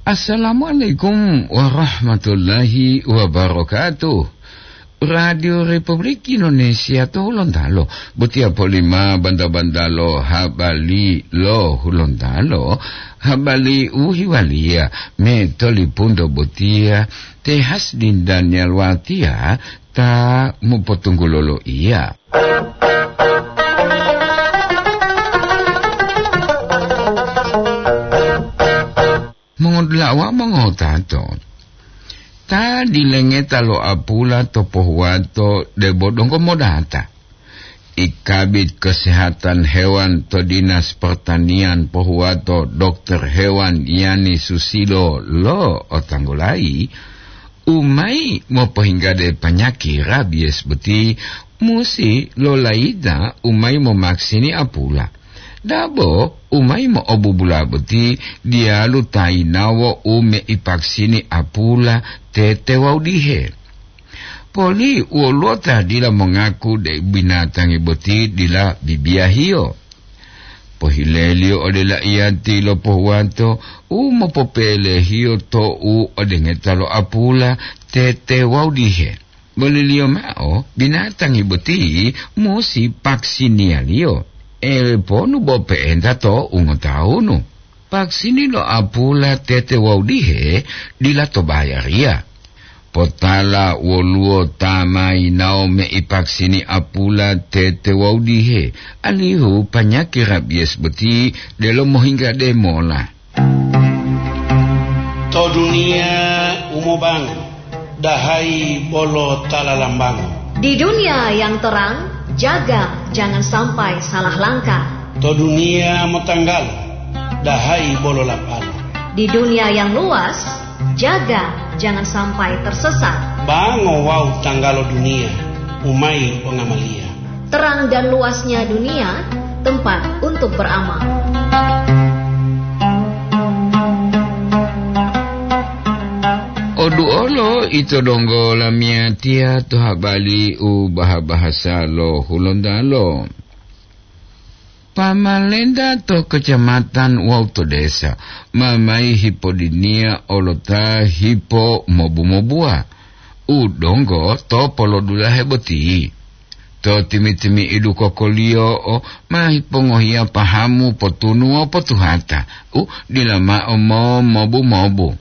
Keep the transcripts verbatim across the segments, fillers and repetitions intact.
Assalamualaikum warahmatullahi wabarakatuh. Radio Republik Indonesia to Hulontalo, botiya polima banta-bantalo habali lo Hulontalo, habali u hiwaliya me tolipunto botiya te Hasdin Daniel Watiya ta mopotunggulo loiya. Mongodula'a wawu mongotato, ta dilengeta lo apula to pohuwato debo donggo modata. I Kabid Kesehatan Hewan to Dinas Pertanian pohuwato Dokter Hewan Yani Susilo lo otanggulayi, u mayi mopohinggade panyaki rabies boti musi lolayita u mayi momaksini apula. Dabo u mayi mo'obubula boti diyalu ta yinawo u meipaksini apula tete wawu dihe. Poli woluwo ta dila mongaku deu binatangi boti dila bibiyahiyo. Pohileliyo ode laiyati lo pohuwato u mopopelehiyo to'u ode ngeta lo apula tete wawu dihe. Boliliyo mao, binatangi boti musi paksiniyaliyo, ewe ponu bo pe'enta to ungotawunu. Paksini lo apula tete wawu dihe dila to bayariya. Potala woluwo ta ma yinawo meipaksini apula tete wawu dihe, alihu panyaki rabies boti delo mohinggade mola. To duniya u mobango, dahayi bolo ta lalambango. Di dunia yang terang, jaga jangan sampai salah langkah. To duniya motanggalo, dahayi bolo lapalo. Di dunia yang luas, jaga jangan sampai tersesat. Bango wawu tanggalo duniya, u mayi pongamaliya. Terang dan luasnya dunia, tempat untuk beramal. Oduolo ito donggo lamiyatiya to habali u baha-bahasa lo Hulontalo. Pamalenta to kecamatan wawu to desa ma mayi hipodiniya olota hipo mobu-mobuwa u donggo to polodulahe boti. To timi-timi'idu kokoliyo'o ma hipongohiya pahamu potunu wawu potuhata u dila mao mo-, mobu-mobu.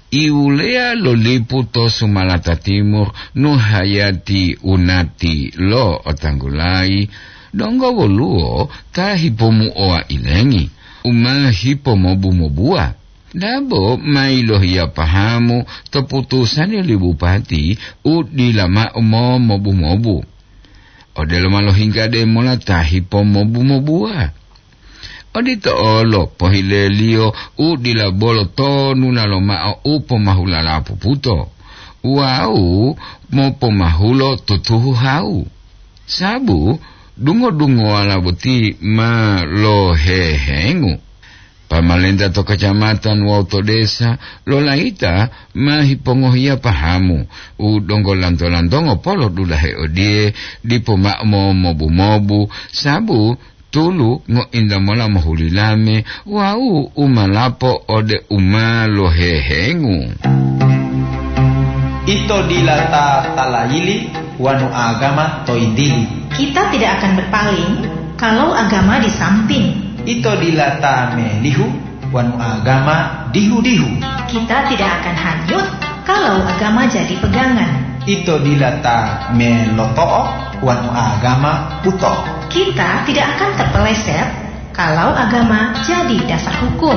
Iwuleya lo lipu to Sumalata Timur, Nuhayati Unati lo otanggulayi, donggo woluwo ta hipomuowa ilengi, u ma hipomobu-mobuwa. Dabo ma yilohiya pahamu to putusani li bupati u dila mao mo-, mobu-mobu. Odelo ma lohingga de mola ta hipomobu-mobuwa. Odito olo pohileliyo u dila bolo tonuna lomao u pomahulala puputo wawu mopomahulo tutuhu hawu. Sabu dungo-dungowala boti ma lohehengu. Pamalenta to kacamatan wawu to desa lolayita ma hipongohiya pahamu u donggo lanto-lantongo polo dulahe odiye dipo mao mo-, mobu-mobu, sabu tulu ngointa mola mohulilame wawu u ma lapo ode u ma lohehengu. Ito dila ta talayili wanu agama to yintili. Kita tidak akan berpaling kalau agama di samping. Ito dila ta melihu wanu agama dihu-dihu. Kita tidak akan hanyut kalau agama jadi pegangan. Ito dila ta meloto'o wanu agama buto. Kita tidak akan terpeleset kalau agama jadi dasar hukum.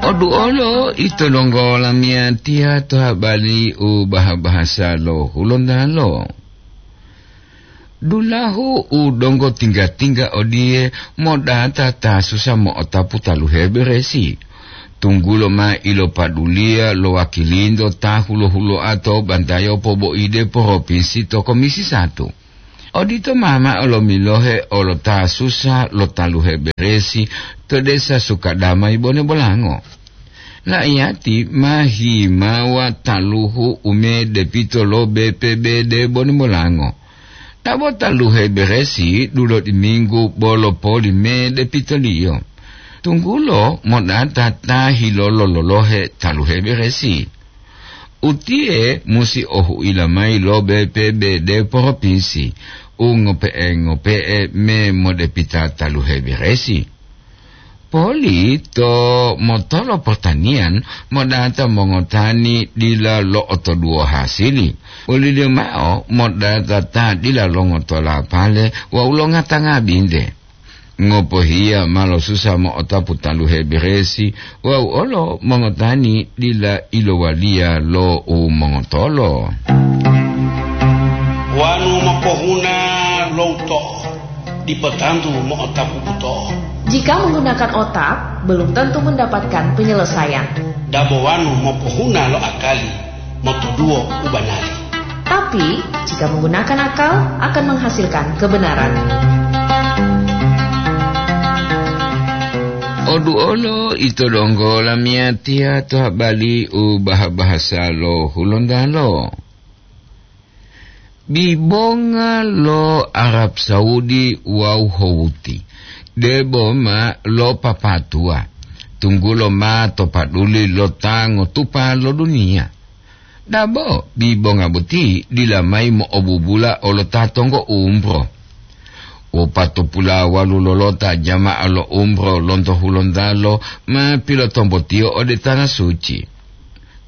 Oduolo ito donggo lamiyatiya to habari u baha-bahasa lo Hulontalo. Dulahu u donggo tingga-tingga odiye modata ta susa mo'otapu taluhe beresi, tunggulo ma ilopaduliya lo wakilinto ta hulo-huloa to bantayo poboide poropinsi to Komisi Satu. Odito mama olomilohe olo ta susa lo taluhe beresi to desa Sukadamai Bone Bolango. La'iyati ma himawa taluhu ume depito lo B P B D Bone Bolango. Abo taluhe beresi dulodiminggu bolo poli medepitoliyo. Tunggulo modata ta hilolo-lolohe taluhe beresi. Utiye musi ohuila mayi lo B P B D propinsi u ngope'e-ngope'e me modepita taluhe beresi. Poli to motolo pertanian modata mongotani dila lo'otoduwo hasili. Oliliyo mao modata ta dila longotola pale wawu longata ngabinte. Ngopohiya ma losusa mo'otapu taluhe beresi wawu olo mongotani dila ilowaliya lo u mongotolo. Wanu mopohuna lo uto'o, dipo tantu mo'otapu buto'o. Jika menggunakan otak, belum tentu mendapatkan penyelesaian. Dabo wanu mopohuna lo akali, motoduwo u banari. Tapi, jika menggunakan akal, akan menghasilkan kebenaran. Oduolo ito donggo lamiyatiya to habali u baha-bahasa lo Hulontalo. Bibonga lo Arab Saudi wawu Houthi debo ma lopapatuwa, tunggulo ma to paduli lo ta ngotupa lo duniya. Dabo bibonga boti dila mayi mo'obubula olo ta tonggo umro. Wopatopulawalu lolota jama'a lo umro lonto Hulontalo ma pilotombotiyo ode Tanah Suci.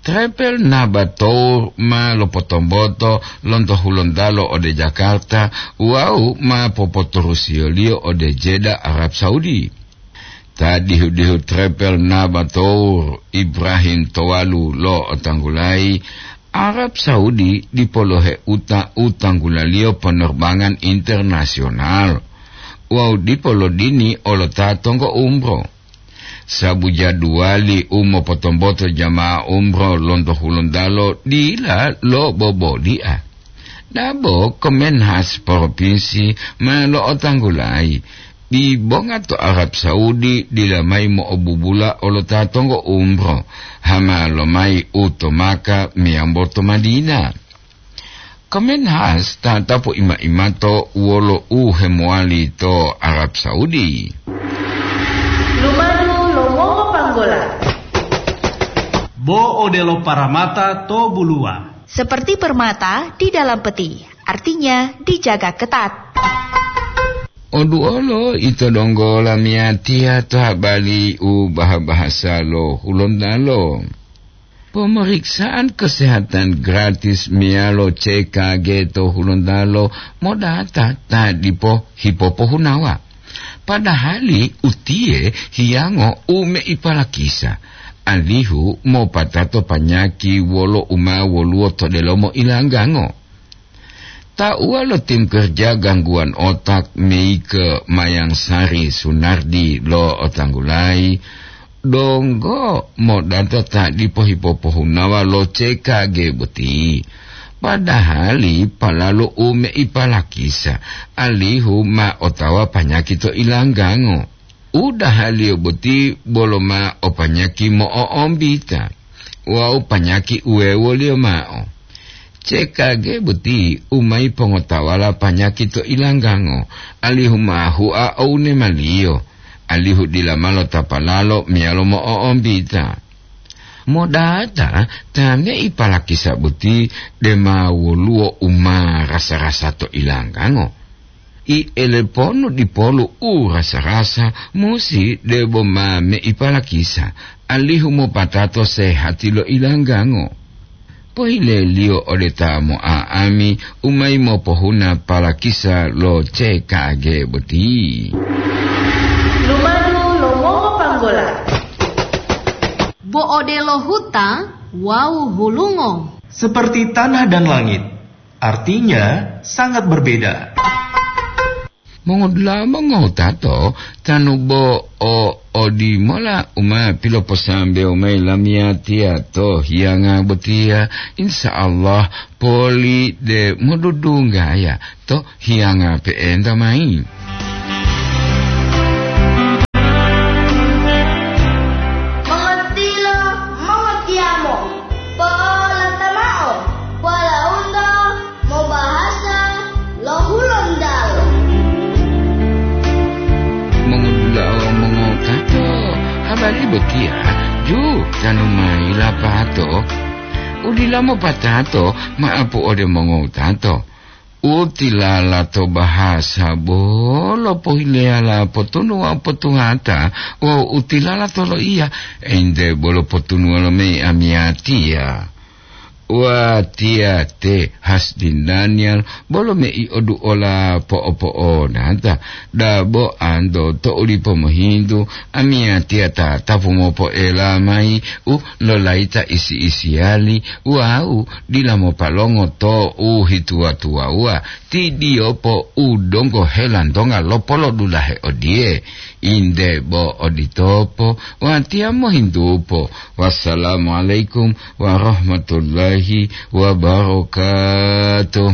Trepel Nabatour ma lopotomboto lonto Hulontalo ode Jakarta wawu ma popoturusiyoliyo ode Jeddah, Arab Saudi. Ta dihu-dihu Trepel Nabatour, Ibrahim Towalu lo'otanggulayi, Arab Saudi dipo loheuta u tanggulaliyo penerbangan internasional wawu dipo lodini olo ta tonggo umro. Sabu jaduwali u mopotomboto jama'a umro lonto Hulontalo dila loboboli'a. Dabo Kemenhas Propinsi ma lo'otanggulayi, bibonga to Arab Saudi dila mayi mo'obubula olo ta tonggo umro, hama lomayi u to Maka meyambo to Madinah. Kemenhas tatapu ima-imato wolo u hemowali to Arab Saudi. Lumadu lo mongopanggola. Bo odelo paramata to buluwa. Seperti permata di dalam peti, artinya dijaga ketat. Oduolo ito donggo lamiyatiya to habali u baha-bahasa lo Hulontalo. Pemeriksaan kesehatan gratis meyalo C K G to Hulontalo modata ta dipo hipopohunawa. Padahali utiye hiyango u meipalakisa, alihu mopatato panyaki wolo u ma woluwo to delomo ilanggango. Tauwa lo tim kerja gangguan otak Meike Mayangsari Sunardi lo'otanggulayi, donggo modata ta dipo hipopohunawa lo C K G boti, padahali palalu u meipalakisa, alihu ma otawa panyaki to ilanggango. Udahaliyo boti bolo ma o panyaki mo'o'ombita wawu panyaki uwewoliyo mao. C K G boti u mayi pongotawala panyaki to ilanggango, alihu ma hua o unemaliyo, alihu dila ma lotapalalo meyalo mo'o'ombita. Modata ta meipalakisa boti dema woluwo u ma rasa-rasa to ilanggango. I eleponu dipolu u rasa-rasa musi debo ma meipalakisa, alihu mopatato sehati lo ilanggango. Pohileliyo ode ta mo'a'ami u mayi mopohuna palakisa lo C K G boti. Lumadu lo mongopanggola. Bo odelo huta wawu hulungo. Seperti tanah dan langit, artinya sangat berbeda. Mongodula'a mongowutato, tanu bo o odimola u ma piloposambewo mayi lamiyatiya to hiyanga botiya, insya Allah poli de modudunggaya to hiyanga pe'enta mayi. Mongotiyo mongotiyamo, po'olata mao, polaunto mobahasa lo hulo. Tali botiya, ju, tanu mayi lapato. Udila mopatato, maapu ode mongowutato. Utilala to bahasa bolo pohileyala potunuwa potuhata, wawu utilala to loiya, ente bolo potunuwa lo mei amiyatiya. Watiya te Hasdin Daniel bolo mei oduola po'opo'onata, dabo anto to ulipo mohintu, amiyatiya ta tapu mopoela mayi u lolayita isi-isiyali wawu dila mopalongo to u hituwa-tuwawuwa, ti diyopo u donggo helantonga lopolodulahe odiye. Inde bo oditopo, watiya mohintupo. Wassalamualaikum warahmatullahi wabarakatuh.